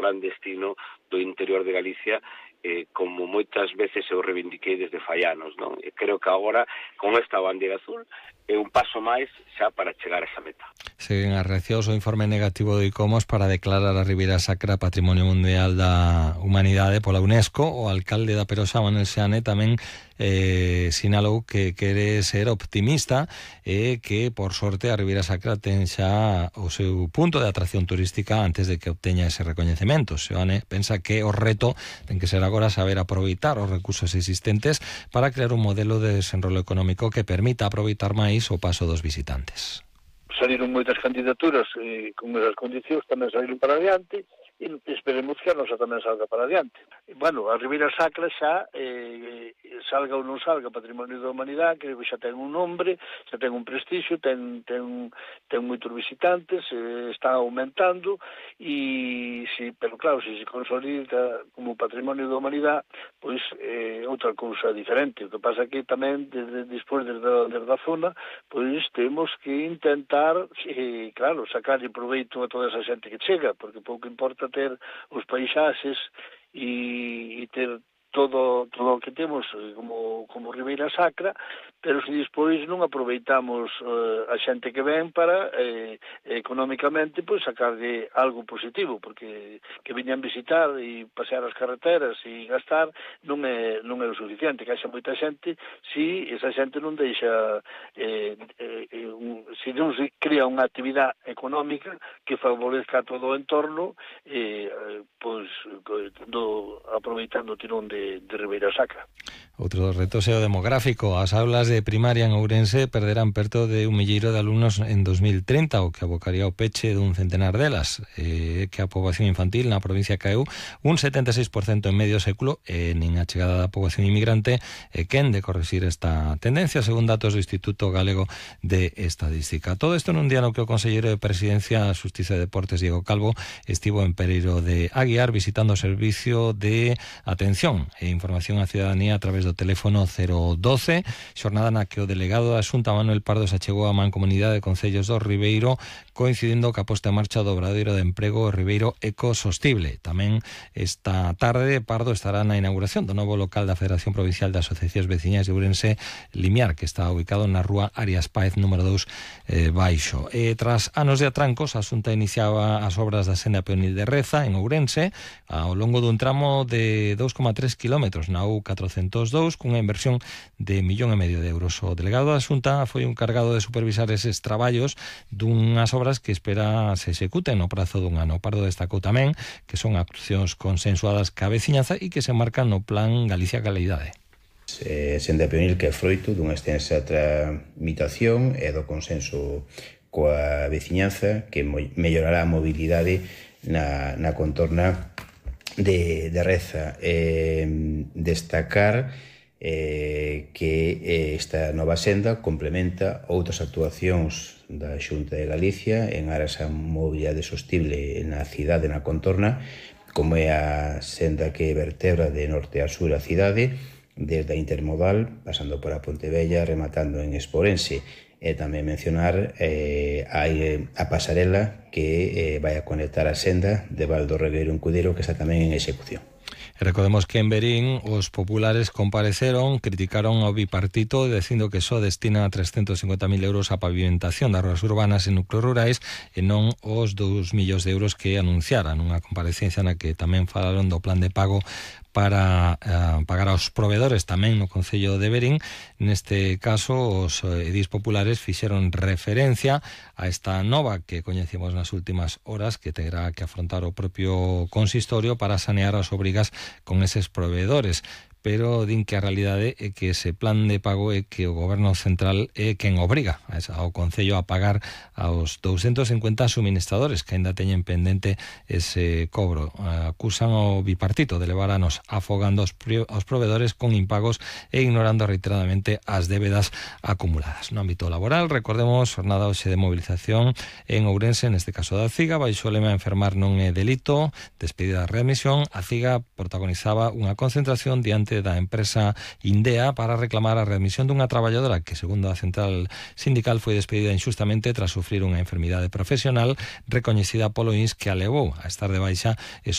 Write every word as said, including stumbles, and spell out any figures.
gran destino do interior de Galicia, eh, como moitas veces eu reivindiquei desde fai anos, non? E creo que agora, con esta bandeira azul, é un paso máis xa para chegar a esa meta. Seguen as reaccións o informe negativo do ICOMOS para declarar a Ribeira Sacra Patrimonio Mundial da Humanidade pola UNESCO. O alcalde da Perosa, Manuel Seane, tamén eh, sinalou que quere ser optimista e que, por sorte, a Ribeira Sacra ten xa o seu punto de atracción turística antes de que obteña ese recoñecemento. Seane pensa que o reto ten que ser agora saber aproveitar os recursos existentes para crear un modelo de desenrolo económico que permita aproveitar máis o paso dos visitantes. Saliron moitas candidaturas e con esas condicións tamén saliron para adiante e esperemos que a nosa tamén salga para adiante. E, bueno, a Ribeira Sacra xa eh, salga ou non salga Patrimonio da Humanidade, que xa ten un nombre, xa ten un prestixio, ten, ten, ten moitos visitantes, eh, está aumentando e, si, pero claro, se se consolida como Patrimonio da Humanidade, pois é eh, outra cousa diferente. O que pasa que tamén, desde, despois desde, desde a zona, pois temos que intentar, eh, claro, sacarlle proveito a toda esa xente que chega, porque pouco importa ter os paisaxes e, e ter todo todo o que temos como, como Ribeira Sacra, pero se despois non aproveitamos eh, a xente que ven para eh, económicamente pois sacarlle algo positivo, porque que viñan visitar e pasear as carreteras e gastar non é, non é o suficiente, que haxa moita xente si esa xente non deixa eh, eh, un, si non se crea unha actividade económica que favorezca todo o entorno, eh, pois do, aproveitando o tirón de de Ribeira Sacra. Outro dos retos é o demográfico. As aulas de primaria en Ourense perderán perto de un milleiro de alumnos en dos mil trinta, o que abocaría ao peche dun centenar delas, eh, que a poboación infantil na provincia caeu un setenta e seis por cento en medio século, e nin a chegada da poboación inmigrante e quen de corrixir esta tendencia, según datos do Instituto Galego de Estadística. Todo isto nun día no que o conselleiro de Presidencia, Xustiza e Deportes, Diego Calvo, estivo en Pereiro de Aguiar visitando o servicio de atención e información á cidadanía a través do teléfono cero doce, xornada na que o delegado da Xunta, Manuel Pardo, se achegou á Mancomunidade de Concellos do Ribeiro, coincidindo ca posta en marcha do obradoiro de emprego Ribeiro Ecosostible. Tamén esta tarde Pardo estará na inauguración do novo local da Federación Provincial de Asociacións Veciñas de Ourense, Limiar, que está ubicado na rúa Arias Páez número dous eh, baixo. E tras anos de atrancos, a Xunta iniciaba as obras da senda peonil de Reza en Ourense ao longo dun tramo de dous coma tres kilómetros na U catrocentos dous, cunha inversión de millón e medio de euros. O delegado da Xunta foi un cargado de supervisar eses traballos dunhas obras que espera se executen no prazo dun ano. Pardo destacou tamén que son actuacións consensuadas ca veciñanza e que se marcan no Plan Galicia Calidade. Eh, senda peonil que é froito dunha extensa tramitación e do consenso coa veciñanza que mellorará a mobilidade na, na contorna de, de Reza. Eh, destacar eh, que eh, esta nova senda complementa outras actuacións da Xunta de Galicia en aras a mobilidade sostible na cidade, na contorna, como é a senda que vertebra de norte a sur a cidade, desde a intermodal, pasando por a Pontevella, rematando en Esporense. E tamén mencionar eh, a, a pasarela que eh, vai a conectar a senda de Val do Regueiro en Cudeiro, que está tamén en execución. Recordemos que en Verín os populares compareceron, criticaron ao bipartito dicindo que só destina trescentos cincuenta mil euros a pavimentación das ruas urbanas e núcleos rurais e non os dous millóns de euros que anunciaran, unha comparecencia na que tamén falaron do plan de pago para uh, pagar aos provedores tamén no Concello de Verín. Neste caso, os edís populares fixeron referencia a esta nova que coñecemos nas últimas horas, que terá que afrontar o propio consistorio para sanear as obrigas con eses provedores. Pero din que a realidade é que ese plan de pago é que o goberno central é quen obriga ao Concello a pagar aos douscentos cincuenta suministradores que ainda teñen pendente ese cobro. Acusan ao bipartito de levar anos afogando aos provedores con impagos e ignorando reiteradamente as débedas acumuladas. No ámbito laboral, recordemos, jornada hoxe de movilización en Ourense, neste caso da CIGA, baixo o lema enfermar non é delito, despedida de readmisión. A CIGA protagonizaba unha concentración diante da empresa Indea para reclamar a readmisión dunha traballadora que, segundo a central sindical, foi despedida injustamente tras sufrir unha enfermidade profesional recoñecida polo I N S, que a levou a estar de baixa e